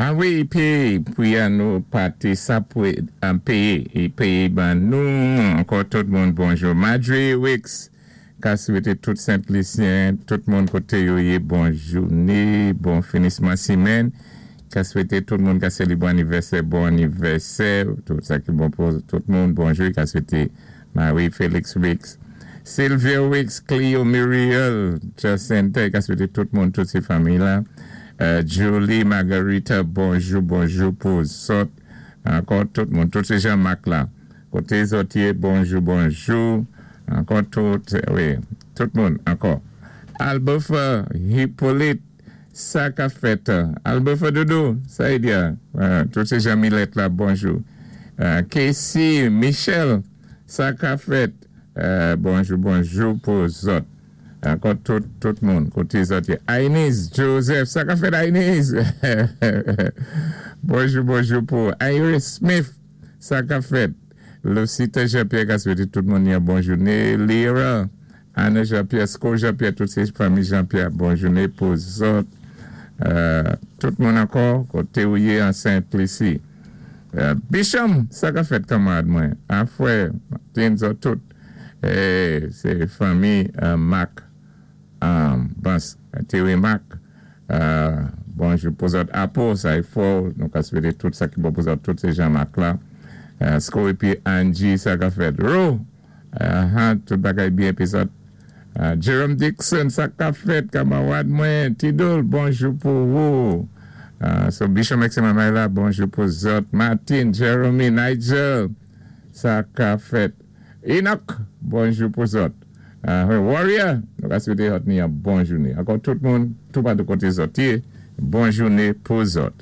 A wi, pi pou nou pati sa pou péyé, i péyé ban nou. Ankò tout moun bonjou. Marjorie Wicks, ka swété tout Sent-Lisyen, tout moun koté yo yé bon jouné, bon finisman simenn. Ka swété tout moun ka sélébwé anivèsè, bon anivèsè, tout sa ki bon pou tout moun, bonjou. Ka swété Marie Félix Wicks, Sylvia Wicks, Cleo Muriel, Jacinta, ka swété tout moun, tout sé fanmi la. Julie Margarita, bonjou, bonjou pou zòt. Ankò tout moun, tout sé Jean-Marc la. Koté zòt yé, bonjou, bonjou. Ankò tout, wi, tout moun, ankò. Albofa Hippolyte, sa ka fèt. Albofa Doudou, sa y di. Tout sé Jean Millet la, bonjou. Casey Michel, sa ka fèt. Bonjou, bonjou pou zòt. Ankò tout, tout moun, koté zòt yé. Ainis Joseph, sa ka fèt Ainis? Bonjou, bonjou pou Iris Smith, sa ka fèt. Lucita Jean-Pierre ka swété tout moun yon bon jouné. Lyra, Anna Jean-Pierre, Sko Jean-Pierre, tout sé fanmi Jean-Pierre, bon jouné pou zòt. Tout moun ankò, koté ou yé an Sent-Lisi. Bicham, sa ka fèt kanmarad mwen? Afwè, Martin, zòt tout. Sé fanmi Marc Bans Terry Marc bonjou pou zòt Apo sa i fò nou ka swété tout sa ki bon pou zòt tout sé Jean Marc la Sko épi Angie sa ka fèt Ro tout bagay byen épi zòt Jerome Dixon sa ka fèt kanmarad mwen Tidol bonjou pou wou So Bichon Mèksi Mamay la bonjou pou zòt Martin Jeremy Nigel sa ka fèt Enoch, bonjou pou zòt. Warrior, nou ka swété zòt ni yon bon jouné. Ankò tout moun, toupatou koté zòt yé, bon jouné pou zòt.